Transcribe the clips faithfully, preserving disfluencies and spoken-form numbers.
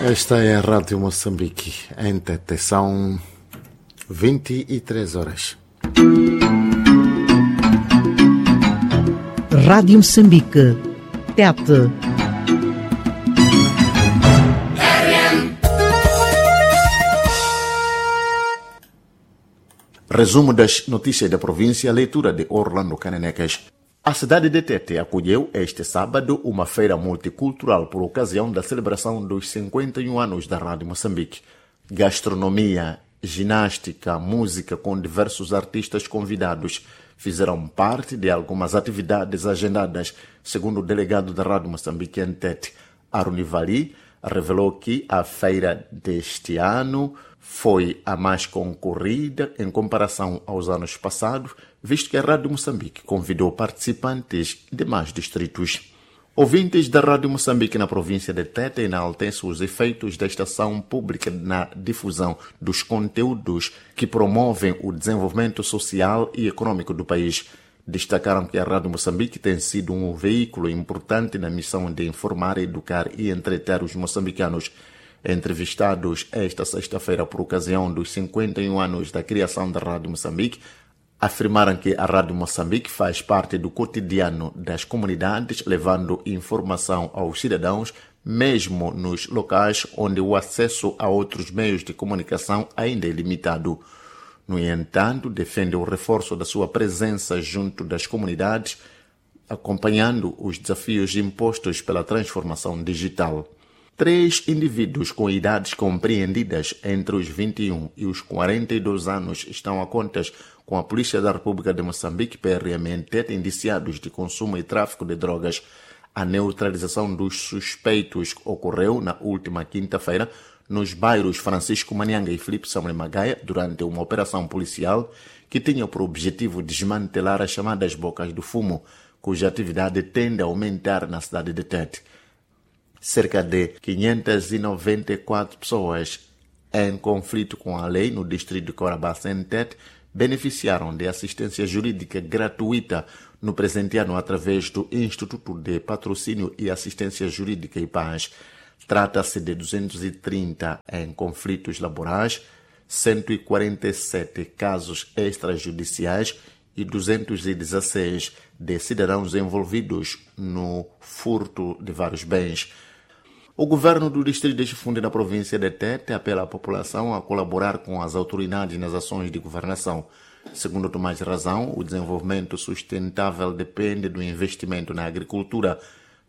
Esta é a Rádio Moçambique, em Tete. São vinte e três horas. Rádio Moçambique. Tete. Resumo das notícias da província, leitura de Orlando Canenecas. A cidade de Tete acolheu este sábado uma feira multicultural por ocasião da celebração dos cinquenta e um anos da Rádio Moçambique. Gastronomia, ginástica, música com diversos artistas convidados fizeram parte de algumas atividades agendadas, segundo o delegado da Rádio Moçambique em Tete, Aruni Vali, revelou que a feira deste ano foi a mais concorrida em comparação aos anos passados, visto que a Rádio Moçambique convidou participantes de mais distritos. Ouvintes da Rádio Moçambique na província de Tete enaltecem os efeitos da estação pública na difusão dos conteúdos que promovem o desenvolvimento social e econômico do país. Destacaram que a Rádio Moçambique tem sido um veículo importante na missão de informar, educar e entreter os moçambicanos. Entrevistados esta sexta-feira por ocasião dos cinquenta e um anos da criação da Rádio Moçambique, afirmaram que a Rádio Moçambique faz parte do cotidiano das comunidades, levando informação aos cidadãos, mesmo nos locais onde o acesso a outros meios de comunicação ainda é limitado. No entanto, defende o reforço da sua presença junto das comunidades, acompanhando os desafios impostos pela transformação digital. Três indivíduos com idades compreendidas entre os vinte e um e os quarenta e dois anos estão a contas com a Polícia da República de Moçambique, P R M, indiciados de consumo e tráfico de drogas. A neutralização dos suspeitos ocorreu na última quinta-feira nos bairros Francisco Manianga e Felipe Samuel Magaia durante uma operação policial que tinha por objetivo desmantelar as chamadas bocas do fumo, cuja atividade tende a aumentar na cidade de Tete. Cerca de quinhentas e noventa e quatro pessoas em conflito com a lei no distrito de Cahora Bassa, em Tete, beneficiaram de assistência jurídica gratuita no presente ano através do Instituto de Patrocínio e Assistência Jurídica e Paz. Trata-se de duzentos e trinta em conflitos laborais, cento e quarenta e sete casos extrajudiciais e duzentos e dezesseis de cidadãos envolvidos no furto de vários bens. O governo do distrito de Chifunde, na província de Tete, apela à população a colaborar com as autoridades nas ações de governação. Segundo Tomás Razão, o desenvolvimento sustentável depende do investimento na agricultura,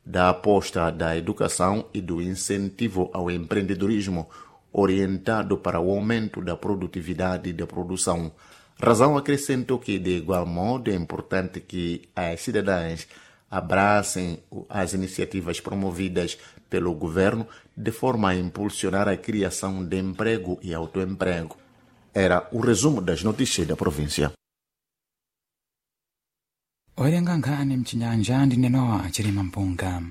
da aposta da educação e do incentivo ao empreendedorismo orientado para o aumento da produtividade e da produção. Razão acrescentou que, de igual modo, é importante que as cidadãs abracem as iniciativas promovidas pelo governo de forma a impulsionar a criação de emprego e autoemprego. Era o resumo das notícias da província. Owerenga nkhani mchinyanja ndi Nenowa Chilima Mpunga.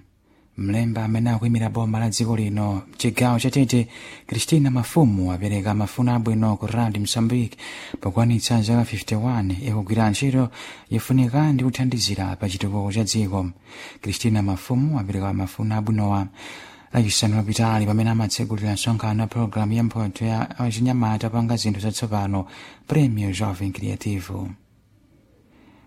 Mlembi amene akuyimira boma la dziko lino mchigawo cha Tete, Christina Mafumu, apereka mafuno abwino ku Radio Mozambique pokwanitsa zaka makumi asanu ndi limodzi ikugwira ntchito yofunika ndi kuthandizira pa chitukuko cha dziko. Christina Mafumu apereka mafuno abwinowa Lachisanu lapitali pamene amatsegulira msonkhano wa pologalamu ya mphotho ya achinyamata panga zinthu zatsopano, Premio Jovem Criativo.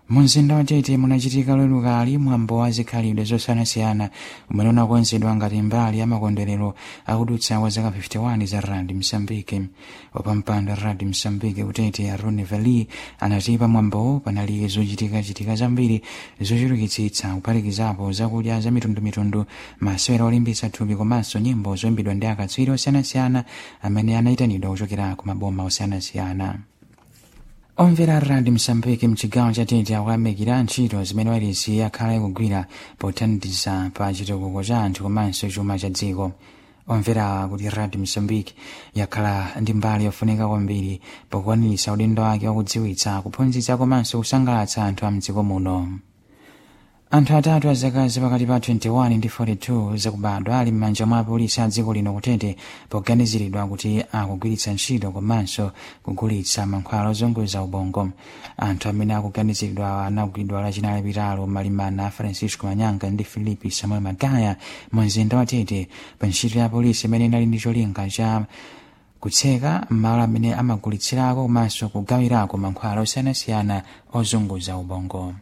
Mumzinda wa Tete munachitika Loweruka mwambo wa zikhalidwe zosiyanasiyana umene unakonzedwa ngati mbali ya makondwerero akudutsa kwa zaka makumi asanu ndi limodzi za Radio Mozambique. Wapampando wa Radio Mozambique ku Tete, Arone Vali, anati pa mwambowo panali zochitikachitika zambiri zochulukitsitsa, kuphatikizapo zakudya za mitundumitundu, masewera olimbitsa thupi komanso nyimbo zoyimbidwa ndi akatswiri osiyanasiyana amene anayitanidwa kuchokera ku maboma osiyanasiyana. Omvera Radio Mozambique mchigawo cha Tete akuyamikira ntchito zimene wailesi yakhala ikugwira pothandiza pa chitukuko cha anthu komanso chuma cha dziko. Omvera kuti Radio Mozambique yakhala ndi mbali yofunika kwambiri pokwaniritsa udindo wake wakudziwitsa, kuphunzitsa komanso kusangalatsa anthu a mdziko muno. Anthu atatu azaka zapakati pa makumi awiri ndi limodzi ndi makumi anayi ndi ziwiri zakubadwa ali m'manja mwa apolisi a dziko lino kutete poganiziridwa kuti akugwiritsa ntchito komanso kugulitsa mankhwala ozunguza ubongo. Anthu amene akuganiziridwa anagwidwa lachinayi lapitalo malimana a Francisco Manyanga ndi Filipe Samuel Magaya mu mzinda wa Tete pa ntchito ya polisi imene inali ndi cholinga cha kutseka malo amene amagulitsirako komanso kugawirako mankhwala osiyanasiyana ozunguza ubongo.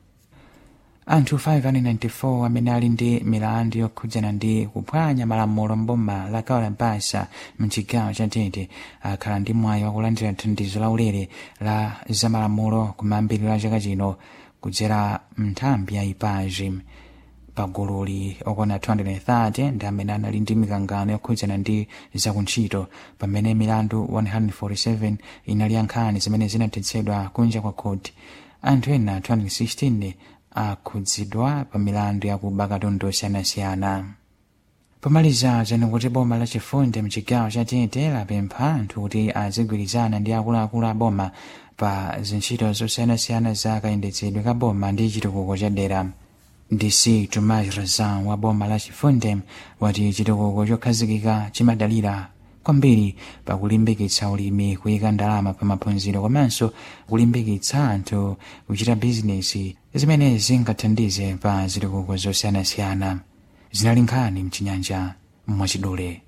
Anthu mazana asanu ndi anayi makumi anayi ndi anayi amene ali ndi milandu yokhudzana ndi kuphwanya malamulo mboma la Kaolampasa mchigawo cha Tete akhala ndi mwayi wakulandira thandizo laulere la zamalamulo kumayambiriro a chaka chino kudzera nthambi ya IPAJI. Pagululi okwana mazana awiri makumi atatu ndi amene anali ndi mikangano yokhudzana ndi zakuntchito, pamene milandu mazana asanu ndi anayi makumi anayi ndi zisanu ndi zisanu inali ya nkhani zimene zinathetsedwa kunja kwa khoti. Anthu ena mazana awiri khumi ndi asanu ndi awiri akhudzidwa pa milandu yakuba katundu osiyanasiyana. Pomaliza zanu kuti boma lachifundi mchigawo cha Tete lapempha anthu kuti azigwirizana ndi akuluakulu a boma pa zintchito zosiyanasiyana za kayendetsedwe ka boma ndi chitukuko cha dera. D C Tomás Razan wa boma la Chifunde wati chitukuko chokhazikika chimadalira kwambiri pakulimbikitsa ulimi, kuyika ndalama pa maphunziro komanso kulimbikitsa anthu kuchita bizinesi zimene zingathandize pa zitukuko zosiyanasiyana. Zinali nkhani mchinyanja mwachidule.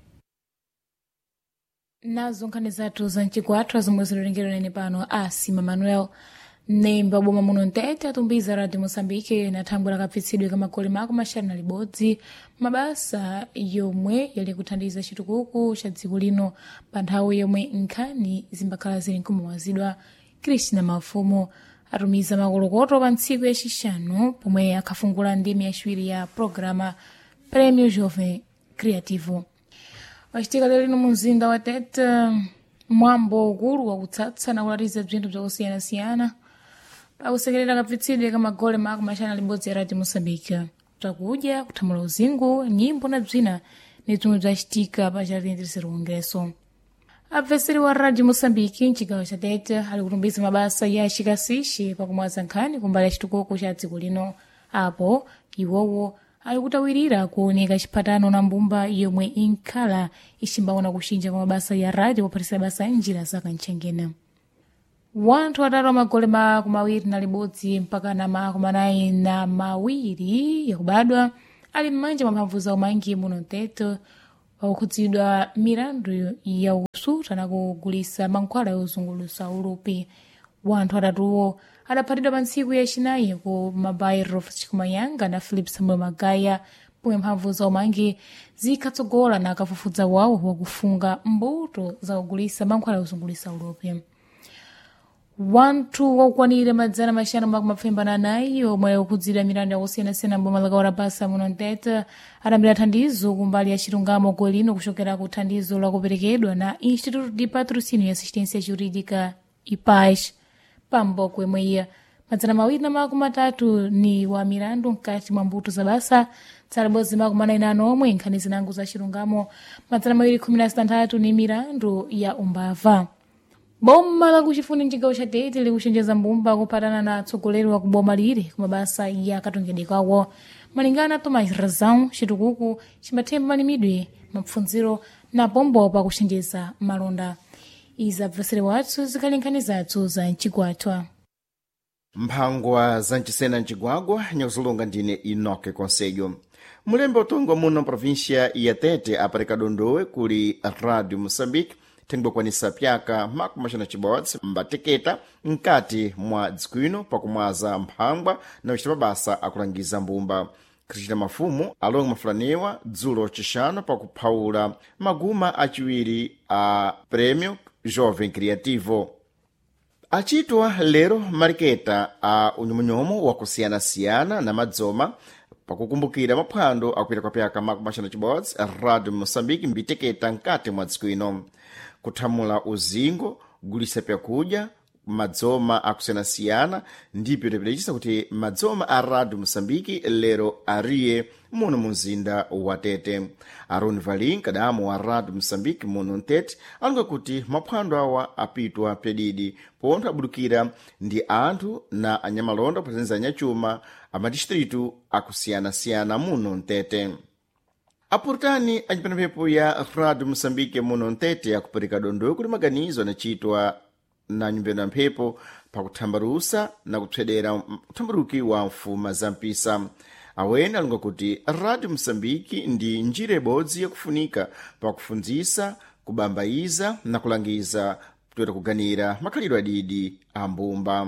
Nazo nkhani zathu za mchigwathu zomwe zilolengedwa nene pano asima Manuel. Mnemba boma muno mtete atumbiza Radio Moçambique na thangwe lakapfitsidwe ka magoli mako maxanu na libodzi mabasa yomwe yali kuthandiza chitukuko cha dziko lino pa nthawi yomwe nkhani zimbakhala zili nkumawazidwa. Cristina Mafumo atumiza makolokoto pa ntsiku yacixanu pomwe akhafungula ndime yaciwiri ya programa Prêmio Jovem Criativo. Wacitika lero lino mu mzinda wa Tete mwambo ukulu wakutsatsa na kulatiza bzinthu bzakusiyanasiyana pakusekerera kapfitsidwe ka magole mako maxanu libodzi ya Radio Moçambique. Bzakudya, kuthamula uzingu, nyimbo na bzina ni bzomwe bzacitika pa Jardim Terceiro Congresso. Apfeseri wa Radio Moçambique mcigawo cha Tete ali kutumbiza mabasa ya chikasixi pakumwaza nkhani kumbali ya chitukuko cha dziko lino. Apo iwowo ali kutawirira kuoneka chiphatano na mbumba yomwe inkhala icimbaona kuxinja kwa mabasa ya radio pophatisa basa njira za kantchengena. Wanthu atatu amagole makumi awiri na libodzi mpaka na makumi anayi na mawiri yakubadwa ali m'manja mwa mphamvu za umangi muno mtete pakukhudzidwa milandu ya usuta na kugulisa mankhwala yozungulutsa ulupi. Wanthu atatuwo adaphatidwa pa ntsiku yacinayi ku mabairo Chikumayanga na Philip Samuel Magaya pomwe mphamvu za umangi zikhatsogola na kafufuza wawo wakufunga mbuto za kugulisa mankhwala yozungulitsa ulupi. Wanthu wakukwanira madzana maxanu makumi mapfembana anayi omwe akukhudzidwa milandu yakusiyanasiyana mboma la Kaurabasa muno mtete adambira thandizo kumbali ya chilungamo goli lino kuchokera ku thandizo lakuperekedwa na Instituto de Patrocínio e Assistência Jurídica IPAS. Pamboko imweya madzana mawiri na makumi atatu ni wa milandu mkati mwa mbuto za basa tsala bodzi makumi anayi na omwe nkhani zinango za chilungamo madzana mawiri khumi na zitanthatu ni milandu ya umbava. Boma lakuchifuni mcigawo cha Tete likuchenjeza mbumba kuphatana na atsogoleri wa kuboma lili kumabasa ya katongedwe kawo. Malingana na Tomás Razão, chitukuko chimathemba malimidwe, mapfundziro na pombo pakuchenjeza malonda. Izi abvesere wathu zikhali nkhani zathu za mchigwathwa. Mphangwa za mchisena mcigwagwa nyakuzolonga ndine Enoque Conselho. Mulembe utongwa muno província ya Tete apereka dondowe kuli Radio Moçambique thengwekwanisa pyaka makumi maxanu cibodzi mbateketa nkati mwa dziko ino pakumwaza mphangwa na kucita mabasa akulangiza mbumba. Cristina Mafumo alonga mafulaniwa dzulo cixanu pakuphawula maguma aciwiri a Prêmio Jovem Criativo. Acitwa lero mariketa a unyomunyomu wakusiyanasiyana na madzoma pakukumbukira maphwando akuita kwa pyaka makumi maxanu cibodzi Radio Moçambique mbiteketa nkati mwa dziko ino kuthamula uzingo gulisa pyakudya madzoma akusiyanasiyana ndipo tipidachisa kuti madzoma a radio moçambique lero ariye muno mu mzinda wa tete. Aroni Valin kadamu wa radio moçambique muno mtete alonga kuti maphwando awa apitwa pedidi pontho abudukira ndi anthu na anyamalonda kupatanizira anyachuma amadistritu akusiyanasiyana muno mtete. Apurutani acipanamphepo ya radio moçambique muno mtete akupereka dondo kuti maganizo anachitwa na nyumbeno ya mphepo pakuthambarusa na kupsedera uthambaruki wa mfuma za mpisa. Awene alonga kuti radio moçambique ndi njira ibodzi yakufunika pakufundzisa, kubambayiza na kulangiza toera kuganira makhalidwe adidi a mbumba.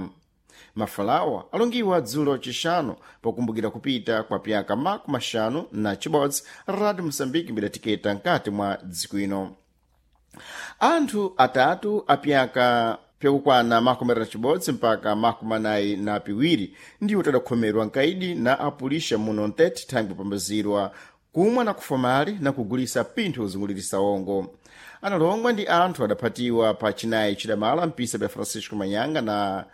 Mafalawa alongiwa dzulo chixanu pokumbukira kupita kwa pyaka makumi axanu na chibodzi radio moçambique mbidatiketa nkati mwa dziko ino. Anthu atatu apyaka pyakukwana makumi atatu na chibodzi mpaka makumi anayi na piwiri ndiwo tadakhomerwa nkaidi na apulisha muno mtete thangwi kupambazirwa kumwa na kufamali na kugulisa pinthu kuzungulirisa ongo. Analongwa ndi anthu adaphatiwa pa chinayi chidamala mpisa bya Francisco Manyanga na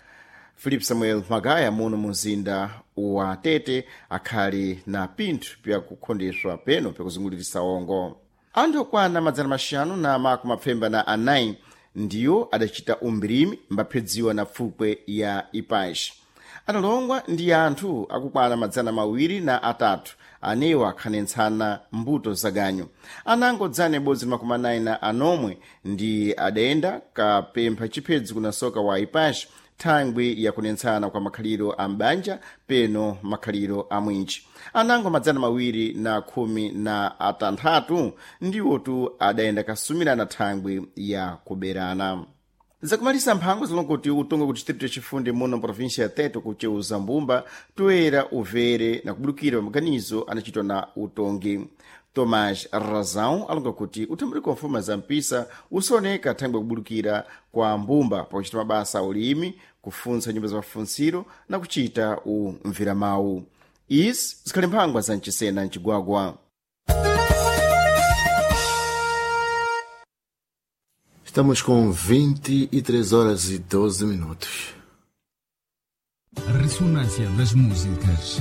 Philip Samuel Magaya muno mu mzinda wa Tete akhali na pinthu pyakukhondeswa peno pyakuzungulirisa ongo. Anthu okwana madzana maxanu na makumi apfemba na anayi ndiwo adachita umbirimi mbaphedziwa na pfukwe ya ipaxi. Analongwa ndi anthu akukwana madzana mawiri na atatu anewa akhanentsana mbuto zaganyu. Anango dzana ibodzi makumi anayi na anomwe ndi adayenda kapempha chiphedzo kuna soka wa ipaxi thangwi yakunentsana kwa makhaliro a m'banja peno makhaliro a mwinji. Anango madzana mawiri na khumi na atanthatu ndiwotu adayenda kasumirana thangwi ya kuberana. Zakumalisa mphango zilonga kuti utonga ku distrito yachifundi muno província ya Tete kuceuza mbumba toera uvere na kubudukira pamaganizo anachitwa na utongi. Tomás Razão alonga kuti uthambuliko wa mfuma za mpisa usioneka thangwi kubudukira kwa mbumba pakuchita mabasa a ulimi, kufuntsa nyumba za mafunsiro na kuchita umviramawu. Izi zikhali mphangwa za mchisena mcigwagwa. Estamos com vinte e três horas e doze minutos. Ressonância das músicas.